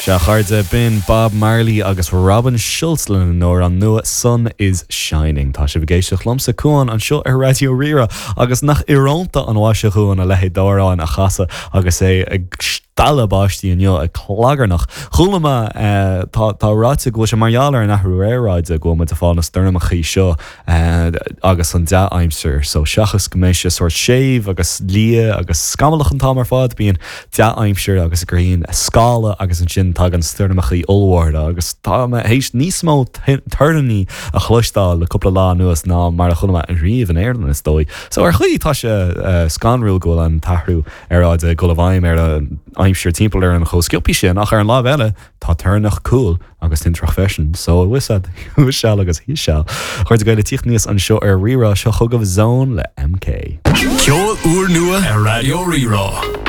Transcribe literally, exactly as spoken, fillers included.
Sea a chairde, b'in Bob Marley agus Robin Schulz lena n-amhrán nua Sun is Shining. Tá sibh ag éisteacht liomsa Cuan anseo ar Raidió Rí-Rá agus nach íorónta an mhaise dhúinn a leithéid d'amhrán a chasadh agus é ag stealladh báistí inniu ag clagarnach. Chuala mé eh, tá tá ráite go bhfuil sé mar gheall ar an athrú aeráide go bhfuil muid ag fáil na stoirmeachaí seo eh, agus an dea-aimsir, so seachas go mbeidh sé sórt séimh agus liath agus scamallach an t-am ar fad bíonn dea-aimsir agus grian scála agus ansin tagann stoirmeachaí ollmhóra agus tá mé théis níos mó toirní a chloisteáil le cúpla lá anuas ná mar a chuala mé riamh in Éirinn is dóigh. So ar chaoi tá sé uh, scanrúil go bhfuil an t-athrú aeráide ag dul i bhfeidhm ar an aimsir timpeall ar an chomh sciobtha sin ach ar an lámh eile tá toirneach cool agus tintreach freisin, so wisad seal agus hí seal. Chuir go le tíocht níos anseo ar Rí-Rá seo chugaibh Zone le MK. Ceol úrnua ar Raidió Rí-Rá.